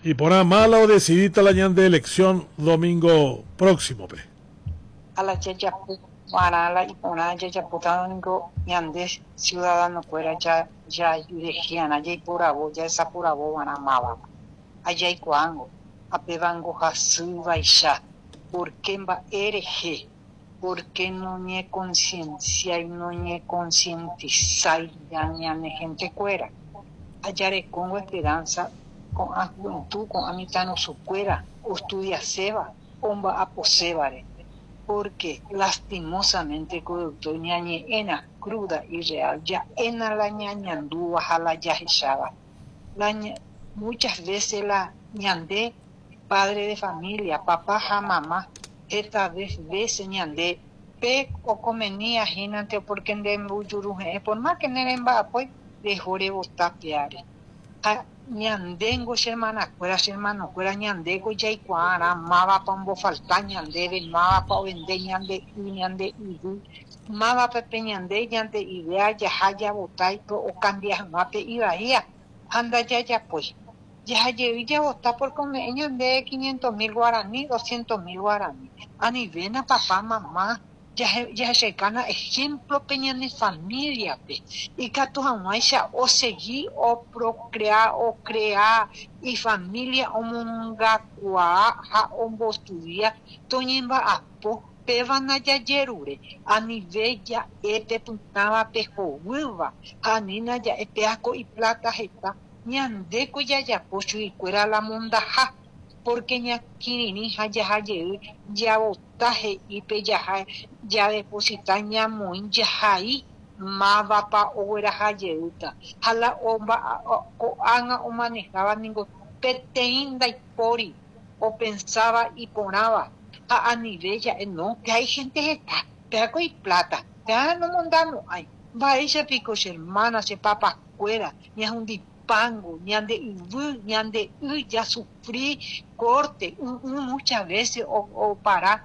Iporã mala odecidíta la ñande elección domingo próximo-pe. Ha la jajapo va'erã la iporã jajapótarõ ningo ñande ciudadano-kuéra jajurehe'arã jaiporavo, jahesaporavo va'erã mávapa. Ha jaikuaángo, ha pévango hasývaicha, porque mba'e rehe, porque noñeconcienciái, noñeconcientisái ñane gente-kuéra. Ha jarekóngo esperanza ko'ã juventud, ko'ã mitãrusukuéra ostudiaséva, omba'aposévare, porque lastimosamente ko doctor ñañe'ẽna cruda y real, ja'éna la ñañandúva ha la jahecháva. La muchas veces la ñande padre de familia, papá ha mamá, heta veces ñande pe okomenía hínante porque nde mbujuruhe'ẽ, por más que neremba'apói, reho rebotá peáre. Ha ñandéngo che hermanakuéra, che hermanokuéra, ñandéko jaikuaarã mávapa ombofalta ñandéve, mávapa ovende ñande y, ñande yvy, mávapa pe ñande ñande idea jaha javotái ocambia hag̃ua pe ivaía ha ndajajapói. Jahajey javotá porque ome'ẽ ñande 500.000 guarani, 200.000 guarani. Anivéna papá, mamá, jahechaukána ejemplo pe ñane familia-pe. Ikatu hag̃uáicha osegi oprocrear, ocrea ifamilia omongakuaa ha ombostudia toñemba'apo péva ndajajerure. Anive ja'e pe pytãva pe hovýva ha anína ja'e péako iplata heta ñandéko jajapo chuguikuéra la mondaha porque ñakirirĩ ha jahajey javota he'i pe jaha jadeposita ñamoĩ jahai mávapa oguerahajeýta ha la ko'ág̃a omanejáva ningo peteĩ ndaipóri opensáva iporãva ha anive ja'e no que hay gente heta péako iplata péa nomondamo'ãi mba'éichapiko che hermana, che papakuéra ñahundipango ñande yvy, ñande y jasufrí corte muchas veces opara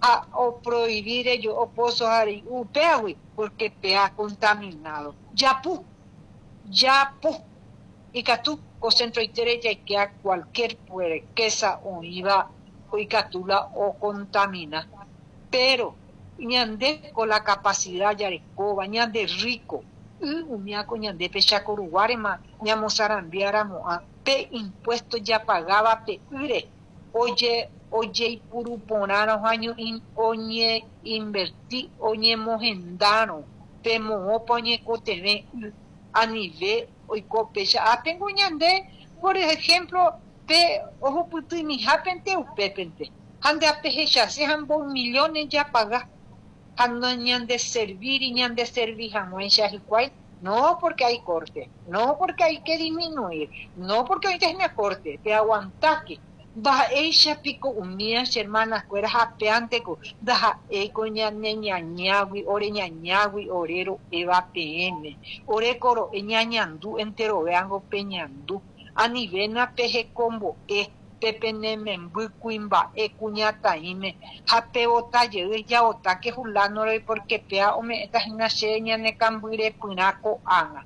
ha oprohibir ello o pozo upéagui porque pea contaminado. Japu, japu ikatu ko centroitére jaikea cualquier puerquesa oĩva ikatu la ocontamina. Pero ñande con la capacidad jarekóva, ñande rico, y umiako ñande pe chakoruguárema ñamosarambiáramo'ã pe impuesto japagaba pe ýre oje ojeipuruporãrõ ha oñeinverti oñemohendárõ pe moõpa oñekotevẽ y anive oiko péicha ápengo ñande por ejemplo pe ohupytymihápente upépente ha nde apehechase ha mboy millones japaga ha ñande servir y ñande servi hag̃uáicha hikuái no porque hay corte, no porque hay que disminuir, no porque ahorita es corte, te aguantaste. Mba'éichapiko umía che hermanakuéra hapeánteko ndaha'éiko ñane ñañágui ore ñañágui ore ro'éva peẽme ore koro'e ñañandu enterovéango peñandu anivéna pehekombo'e pe penememby kuimba'e kuñataĩme ha pevotajey javotáke fulano-re porque péa ome'ẽtahína chéve ñane kambyrepyrã ko'ág̃a.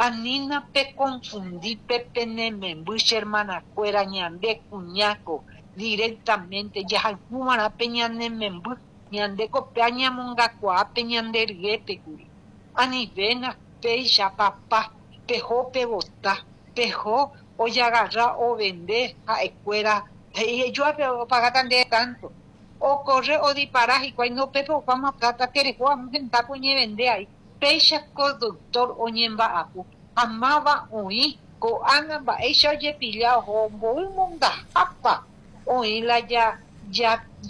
Anína peconfundi pe penememby che hermanakuéra ñande kuñáko directamente jahayhúva'erã pe ñanememby ñandéko péa ñamongakuaa pe ñande ryépekuri. Anivéna péicha papá peho pevota peho ojagarra ovende ha'ekuéra he'i joápe opagáta ndéve tanto ocorre odipara hikuái no pépe opáma plata tereho amo hendápe oñevende aí péicha ko doctor oñemba'apo ha máva oĩ ko'ág̃a mba'éicha ojepilla oho mboy mondahápa oĩ la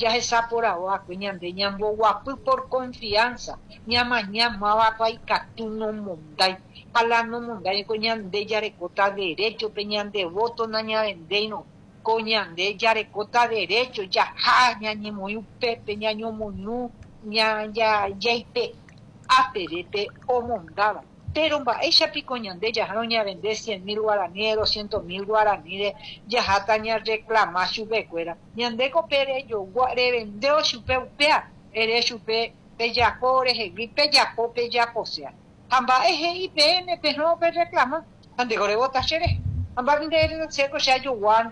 jahesaporavo'akue ñande ñamboguapy por confianza ñamaña mávapa ikatu nomondái ha la nomondái ko ñande jarekóta derecho pe ñande voto nañavendéirõ ko ñande jarekóta derecho jaha ñañemoĩ upépe ñañomoirũ jaipe'a peve pe omondáva pero mba'éichapiko ñande jahárõ ñavende 100.000 guaraníre, 200.000 guaraníre jaháta ñareclama chupekuéra ñandéko pe rejogua revendéo chupe upéa ere chupe pejapo rehegui pejapo pejaposea ha mba'e he'i peẽme pehõ pereclama ha ndéko revota chéve. Ha mba'épe nde eréta chéko che ajogua nde.